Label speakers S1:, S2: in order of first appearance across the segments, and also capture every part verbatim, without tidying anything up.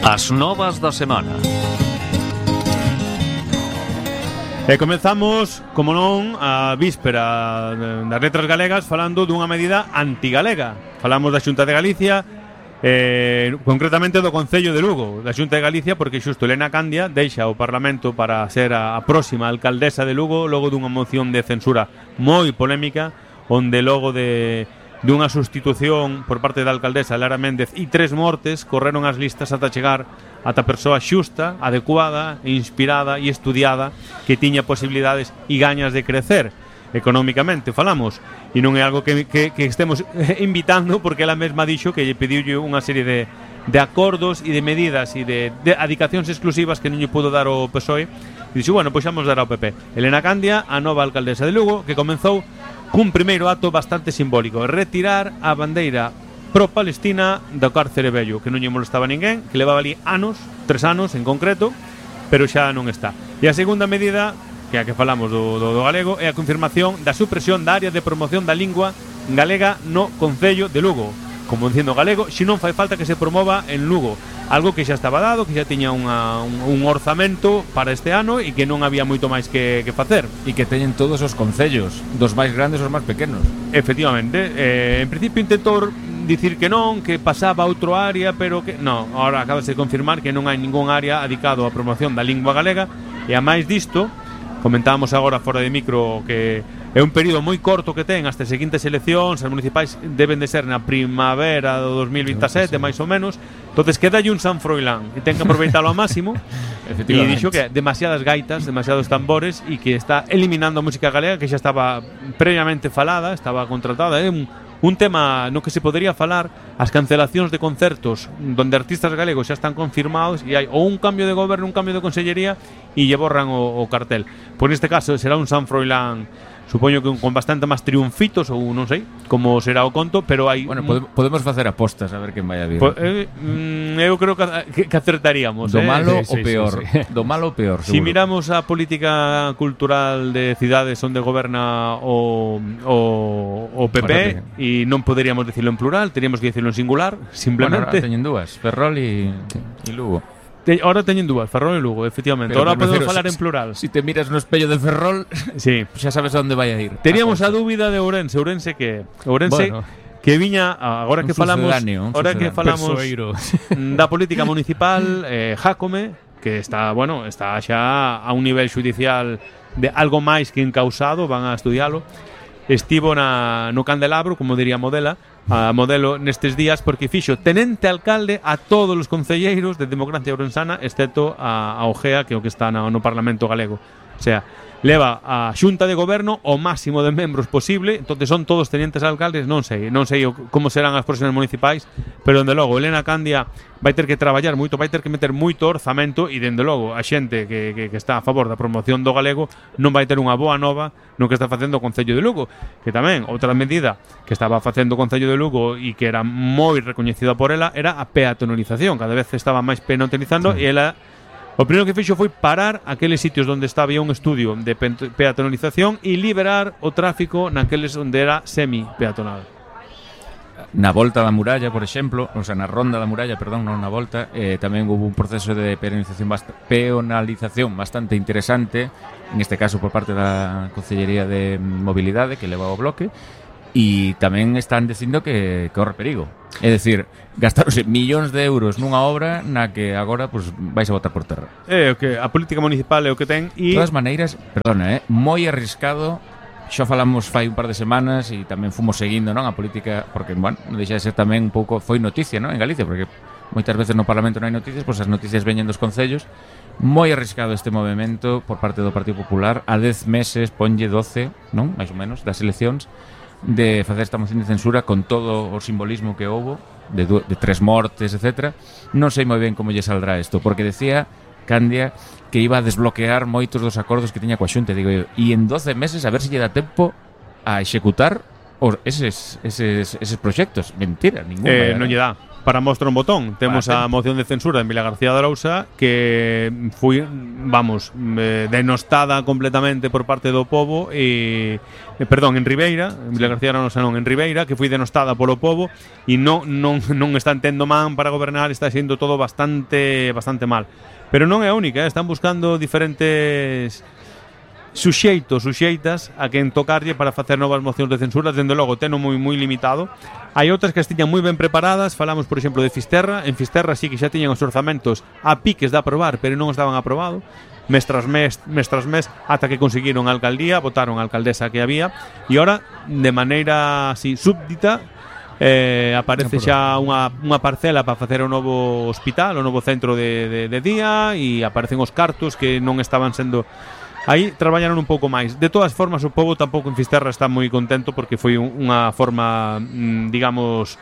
S1: As novas da semana.
S2: E comezamos, como non, a víspera das letras galegas falando dunha medida antigalega. Falamos da Xunta de Galicia, eh, concretamente do Concello de Lugo, da Xunta de Galicia, porque xusto Elena Candia deixa o Parlamento para ser a, a próxima alcaldesa de Lugo logo dunha moción de censura moi polémica, onde logo de dunha sustitución por parte da alcaldesa Lara Méndez e tres mortes correron as listas ata chegar ata a persoa xusta, adecuada, inspirada e estudiada que tiña posibilidades e gañas de crecer económicamente, falamos, e non é algo que, que, que estemos invitando, porque ela mesma dixo que lle pediulle unha serie de, de acordos e de medidas e de, de adicacións exclusivas que non lle pudo dar o P S O E, e dixo, bueno, pois vamos dar ao P P. Elena Candia, a nova alcaldesa de Lugo, que comenzou cun primeiro acto bastante simbólico, retirar a bandeira pro-palestina do cárcere vello, que non lle molestaba a ninguén, que levaba ali anos, tres anos en concreto, pero xa non está. E a segunda medida, que é a que falamos do, do, do galego, é a confirmación da supresión da área de promoción da lingua galega no Concello de Lugo. Como dicindo galego, xe non fai falta que se promova en Lugo, algo que xa estaba dado, que xa tiña unha, un, un orzamento para este ano e que non había moito máis que, que facer.
S3: E que teñen todos os concellos, dos máis grandes aos máis pequenos.
S2: Efectivamente, eh, en principio intentou dicir que non, que pasaba a outro área, pero que non, ahora acaba de confirmar que non hai ningún área dedicado á promoción da lingua galega. E a máis disto, comentábamos agora fora de micro que é un período moi corto que ten hasta as seguintes eleccións, as municipais deben de ser na primavera do dos mil vintisete, máis ou menos. Entonces quedalle un San Froilán e ten que aproveitalo ao máximo. E dixo que demasiadas gaitas, demasiados tambores e que está eliminando a música galega que xa estaba previamente falada, estaba contratada. É un Un tema no que se podría falar as cancelacións de concertos donde artistas galegos xa están confirmados e hai ou un cambio de goberno, un cambio de consellería e lle borran o, o cartel. Por neste caso será un San Froilán, supoño que con bastante máis triunfitos ou non sei como será o conto, pero hai...
S3: Bueno, podemos, podemos facer apostas a ver quen vai a vir.
S2: Po, eh, mm, eu creo que, que acertaríamos.
S3: Do
S2: eh?
S3: malo
S2: sí,
S3: o peor.
S2: Sí, sí, sí.
S3: Do malo o peor, seguro.
S2: Si miramos a política cultural de cidades onde goberna o, o, o P P e non poderíamos dicirlo en plural, teríamos que dicirlo en singular, simplemente.
S3: Bueno, ahora teñen dúas, Ferrol e Lugo.
S2: Te, ahora teñen dúas, Ferrol e Lugo, efectivamente.
S3: Pero
S2: ahora podemos
S3: refiero,
S2: falar
S3: si,
S2: en plural.
S3: Si te miras no espello de Ferrol,
S2: sí,
S3: xa sabes a onde vai a ir.
S2: Teníamos a, a dúbida de Ourense, Ourense que Ourense bueno, que viña agora que falamos, agora que falamos da política municipal, eh, Jácome, que está, bueno, está xa a un nivel judicial de algo máis que encausado, van a estudialo. Estivo na, no Candelabro, como diría Modela, a modelo nestes días, porque fixo tenente alcalde a todos os concelleiros de Democracia Ourensana, excepto a, a Ojea, que é o que está no, no Parlamento galego. O sea, leva a xunta de goberno o máximo de membros posible, entonces son todos tenientes alcaldes, non sei, non sei como serán as próximas municipais, pero dende logo Elena Candia vai ter que traballar moito, vai ter que meter moito orzamento e dende logo a xente que, que, que está a favor da promoción do galego non vai ter unha boa nova no que está facendo o Concello de Lugo, que tamén outra medida que estaba facendo o Concello de Lugo e que era moi recoñecida por ela era a peatonalización, cada vez estaba máis peatonalizando sí. E ela o primeiro que fixo foi parar aqueles sitios onde estaba un estudio de peatonalización e liberar o tráfico naqueles onde era semi-peatonal.
S3: Na volta da muralla, por exemplo, o sea, na ronda da muralla, perdón, non na volta, eh, tamén houve un proceso de peonalización, bast- peonalización bastante interesante, en este caso por parte da Consellería de Mobilidade, que leva o bloque, e tamén están dicindo que corre perigo. É dicir, gastarose millóns de euros nunha obra na que agora pues, vais a botar por terra.
S2: É o que a política municipal é o que ten e...
S3: De todas maneiras, perdona, eh, moi arriscado. Xa falamos fai un par de semanas e tamén fomos seguindo, non, a política, porque, bueno, non deixa de ser tamén un pouco, foi noticia, non, en Galicia, porque moitas veces no Parlamento non hai noticias, pois as noticias veñen dos concellos. Moi arriscado este movimento por parte do Partido Popular, a dez meses, ponlle doce, non, máis ou menos, das eleccións, de facer esta moción de censura con todo o simbolismo que houbo, de, de tres mortes, etcétera. Non sei moi ben como lle saldrá isto, porque decía Candia que iba a desbloquear moitos dos acordos que tiña coa Xunta, digo eu, e en doce meses a ver se lle dá tempo a executar os, eses, eses, eses proxectos. Mentira, ningún
S2: eh, non lle dá. para mostrar un botón. Temos a moción de censura de Emilia García de Arousa que foi, vamos, eh, denostada completamente por parte do pobo e, eh, perdón, en Ribeira, Emilia García de Arousa non, en Ribeira, que foi denostada polo pobo e non, non, non están tendo man para gobernar, está sendo todo bastante bastante mal. Pero non é a única, eh? Están buscando diferentes suxeitos, suxeitas a quen tocarlle para facer novas mocións de censura. Dende logo, teno moi moi limitado. Hai outras que estiñan moi ben preparadas. Falamos, por exemplo, de Fisterra. En Fisterra sí que xa tiñan os orzamentos a piques de aprobar, pero non estaban aprobado. Mes tras mes, mes tras mes, ata que conseguiron a alcaldía, votaron a alcaldesa que había, e ora, de maneira así súbdita, eh, aparece xa unha, unha parcela para facer o novo hospital, o novo centro de, de, de día, e aparecen os cartos que non estaban sendo... Aí traballaron un pouco máis. De todas formas, o pobo tampouco en Fisterra está moi contento porque foi unha forma, digamos,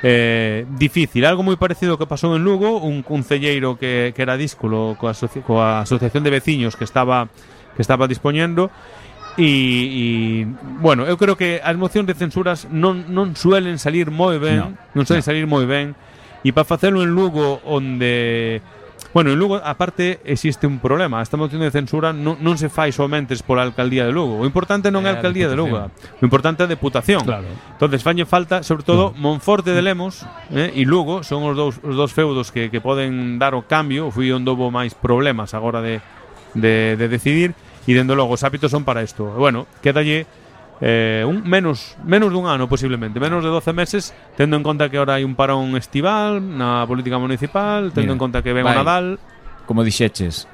S2: eh, difícil. Algo moi parecido ao que pasou en Lugo, un concelleiro que, que era díscolo coa, asoci coa asociación de veciños que estaba que estaba dispoñendo e, e bueno, eu creo que as mocións de censuras non, non suelen salir moi ben, no, non suelen no. salir moi ben, e para facelo en Lugo onde... Bueno, en Lugo, aparte, existe un problema. Esta moción de censura non, non se fai somente pola alcaldía de Lugo. O importante non é a alcaldía de Lugo. O importante é a Deputación. Claro. Entonces, falle falta, sobre todo, Monforte de Lemos eh, e Lugo son os dous, os dous feudos que, que poden dar o cambio. Fui onde houve máis problemas agora de, de, de decidir. E, dende logo, os hábitos son para isto. Bueno, quédalle eh, un, menos, menos dun ano, posiblemente. Menos de doce meses, tendo en conta que ahora hai un parón estival na política municipal, tendo Mira, en conta que ven o Nadal.
S3: Como dixeches,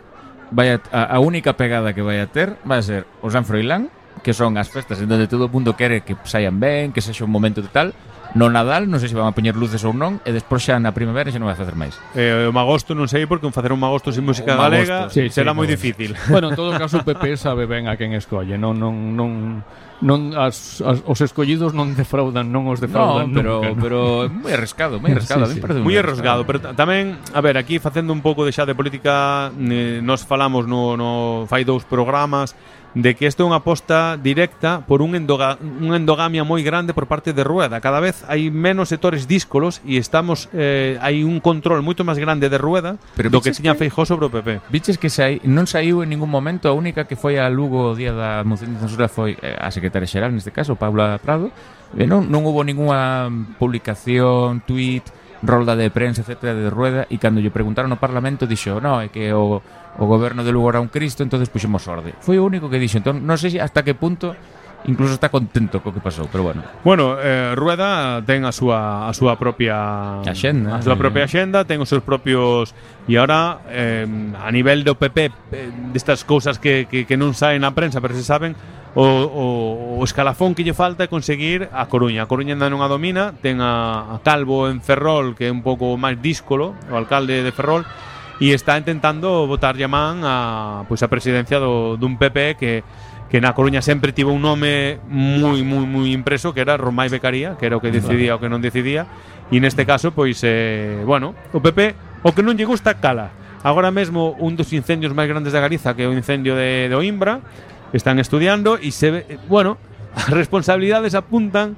S3: vai a, a única pegada que vai a ter vai a ser o San Froilán, que son as festas en donde todo o mundo quere que saian ben, que sexa un momento de tal. No Nadal, non sei se van a poñer luces ou non, e despois xa na primavera xa non vai facer máis.
S2: Eh, o Magosto non sei, porque facer un Magosto sin música galega sí, será sí, moi difícil.
S1: Bueno, en todo caso o P P sabe ben a quen escolle, non non non non as, as os escollidos non defraudan, non os defraudan,
S3: no, pero nunca, ¿no? Pero moi arriscado, moi arriscado, sí, sí.
S2: moi arriscado, pero tamén, a ver, aquí facendo un pouco de xa de política, eh, nos falamos no no fai dous programas de que isto é unha aposta directa por un endoga, unha endogamia moi grande por parte de Rueda. Cada vez hai menos sectores díscolos e estamos eh, hai un control moito máis grande de Rueda pero do que tiña Feijóo sobre o P P.
S3: Viches que sai, non saiu en ningún momento, a única que foi a Lugo o día da moción de censura foi eh, a secretaria xeral, neste caso, Paula Prado. E non, non hubo ninguna publicación, tweet, rolda de prensa, etcétera, de Rueda, e cando lle preguntaron no Parlamento dixo, no, é que o o goberno de Lugo era un Cristo, entonces puxemos orde. Foi o único que dixo. Entón, non sei hasta que punto incluso está contento co que pasou, pero bueno.
S2: Bueno, eh, Rueda ten a súa a súa propia
S3: axenda,
S2: a súa propia axenda, ten os seus propios e agora eh, a nivel do P P eh, destas cousas que, que, que non saen na prensa, pero se saben, o, o, o escalafón que lle falta é conseguir a Coruña. A Coruña ainda non a domina, ten a, a Calvo en Ferrol, que é un pouco máis díscolo, o alcalde de Ferrol, e está intentando botar man a, pois, a presidencia do, dun P P que, que na Coruña sempre tivo un nome moi, moi, moi impreso, que era Romai Becaría, que era o que decidía o que non decidía, e neste caso, pois, eh, bueno, o P P, o que non lle gusta, cala. Agora mesmo, un dos incendios máis grandes da Galiza, que é o incendio de, de Oimbra, están estudiando, e se ve, bueno, as responsabilidades apuntan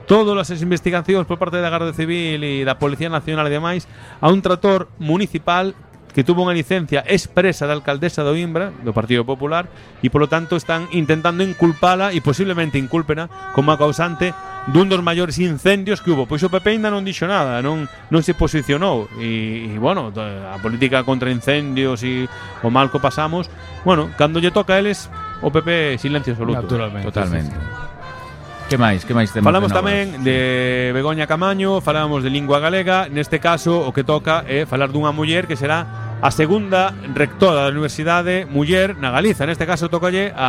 S2: todas as investigacións por parte da Garda Civil e da Policía Nacional e demais a un trator municipal que tuvo unha licencia expresa da alcaldesa de Oimbra, do Partido Popular, e polo tanto están intentando inculpala e posiblemente inculpena como a causante dun dos maiores incendios que hubo. Pois o P P ainda non dixo nada, non non se posicionou e, e bueno, a política contra incendios e o mal que pasamos, bueno, cando lle toca a eles, o P P silencio absoluto.
S3: Naturalmente. Totalmente. Sí, sí. Que máis, que máis temos?
S2: Falamos de tamén de Begoña Camaño, falamos de lingua galega. Neste caso, o que toca é falar dunha muller que será a segunda rectora da Universidade Muller na Galiza. Neste caso, tocalle a